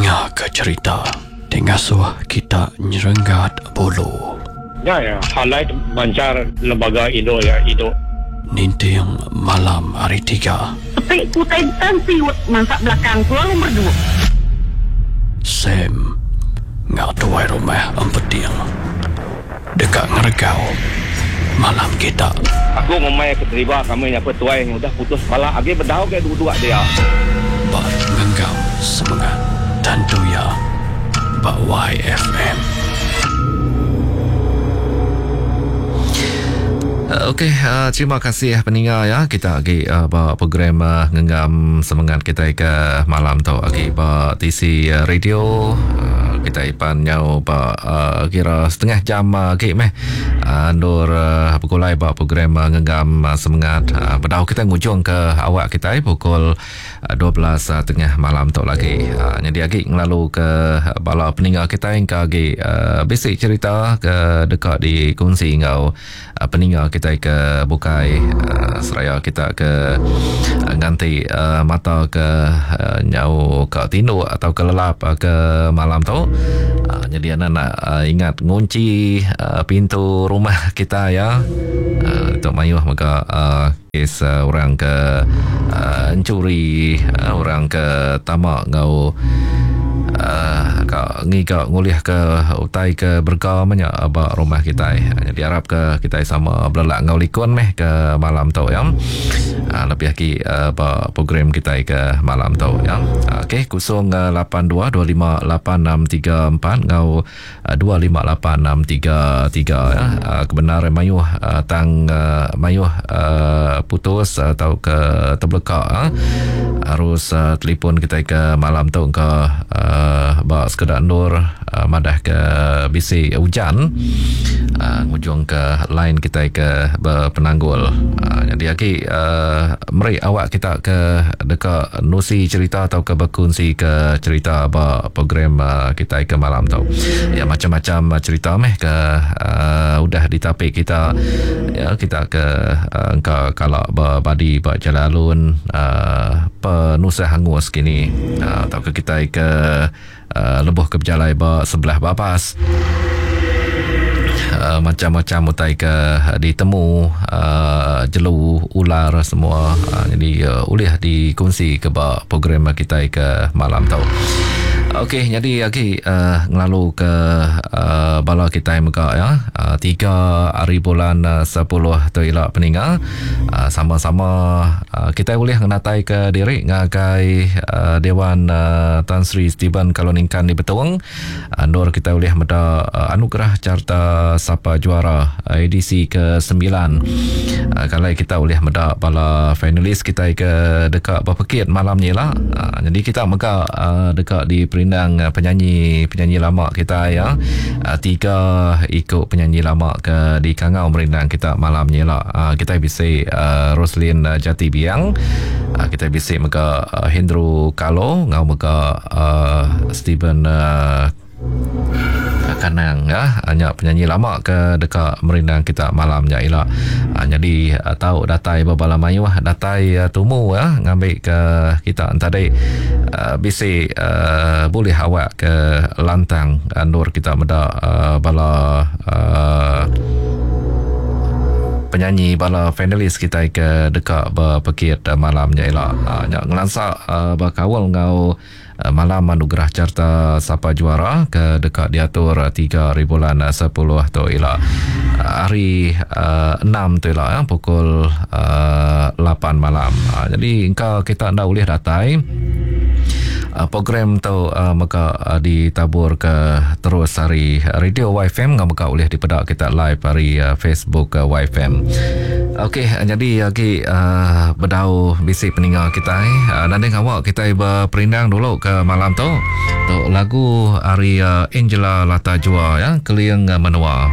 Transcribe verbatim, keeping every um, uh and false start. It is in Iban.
Ninga ke cerita ti ngasuh kita nyerenggat bulu. Nya ya, highlight manchar lembaga indu ya indu. Ninting malam hari tiga. Sepi ku utai tan siut mansa belakang ku lalu merdu. Sam enggau tuai rumah Empeting deka ngeregau malam kita. Aku ngumbai ke deriba kami nya pe tuai udah putus pala agi bedau ke duduk dia. Ba Ngenggam Semengat tentu iya ba Y F M. Okey, uh, terima kasih peninga ya. Kita lagi uh, ba program uh, Ngenggam Semengat kita ke malam tu lagi ba T C Radio. Uh, kita ipan nyau ba uh, kira setengah jam lagi uh, meh. Uh, ndur uh, pukul ba program uh, Ngenggam uh, Semengat. Uh, bedau kita ngujung ke awak kita pukul uh, dua belas uh, tengah malam tu lagi. Uh, jadi lagi ngelalu ke bala peninga kita yang ke lagi uh, basic cerita ke dekat dikongsi ngau uh, peninga kita ke bukai uh, seraya kita ke uh, nganti uh, mata ke uh, nyau ke tinduk atau ke lelap uh, ke malam tu. Uh, jadi anak nak uh, ingat ngunci uh, pintu rumah kita ya. Uh, untuk mayuh maka uh, kes uh, orang ke uh, encuri, uh, orang ke tamak ngau Uh, ka ngiga ngulih ke utai ke berga banyak ba rumah kita. Jadi harap ke kita sama belelak ngau likun meh ke malam tu ya. Uh, lebih lagi uh, ba program kita ke malam tu ya. Uh, okey kosong lapan dua dua lima lapan enam tiga empat ngau dua lima lapan enam tiga tiga ya. Uh, kebenaran mayuh uh, tang uh, mayuh uh, putus atau ke terbelekak uh. Harus uh, telefon kita ke malam tu ke uh, ba sekedar nur uh, madah ke bisi hujan uh, ngujung ke line kita ke berpenanggul. Uh, jadi lagi uh, meri awak kita ke dekat nusi cerita atau ke berkongsi ke cerita ba program uh, kita ke malam tu. Ya macam-macam cerita meh ke uh, udah ditapik kita ya kita ke uh, engka kalau berbadi ba jalan alun uh, penusah hangus kini uh, atau ke kita ke uh, lebuh ke berjalai ba sebelah babas. Uh, macam-macam utai ke ditemu uh, jelu ular semua uh, jadi uh, boleh dikongsi ke ba program kita ke malam tu. Okey, jadi lagi uh, ngelalu ke uh, bala kita mega ya. Uh, tiga hari bulan uh, sepuluh tu ila peninga. Uh, sama-sama uh, kita boleh ngenatai ke diri ngagai uh, Dewan uh, Tan Sri Stephen Kaloningkan di Betong. Uh, nur kita boleh meda uh, anugerah carta Sapa Juara uh, edisi ke sembilan. Uh, kalau kita boleh meda bala finalis kita ke dekat berpekit malam ni lah. Uh, jadi kita mega uh, dekat di perindang penyanyi-penyanyi lama kita ya. Tiga ikut penyanyi lama ke di Kangau merindang kita malam ni lah. Kita bisa Roslin Jati Biang, kita bisa mega Hendro Kalo, ngau mega Stephen Kanang ya, hanya penyanyi lama ke dekat merindang kita malamnya ila. Ha, jadi tahu datai berbala mayuh datai tumu ya ngambil ke kita tadi uh, bisi uh, boleh awak ke lantang uh, nur kita meda uh, bala uh, penyanyi bala finalis kita ke dekat berpekit malamnya ila. Ha, nyak ngelansak uh, berkawal ngau malam anugerah carta Sapa Juara ke dekat diatur tiga hari bulan sepuluh tu ila. Hari uh, enam tu ila ya, pukul uh, lapan malam. Uh, jadi engkau kita ndak boleh datai. Uh, program tu uh, maka uh, ditabur ke terus hari Radio Y F M ngau maka boleh dipedak kita live hari uh, Facebook uh, Y F M. Okey, jadi lagi uh, bedau bisi peninga kita eh. Uh, nanti awak kita berperindang dulu ke malam tu. Tu lagu hari uh, Angela Lata Jua ya, Keliang Menua.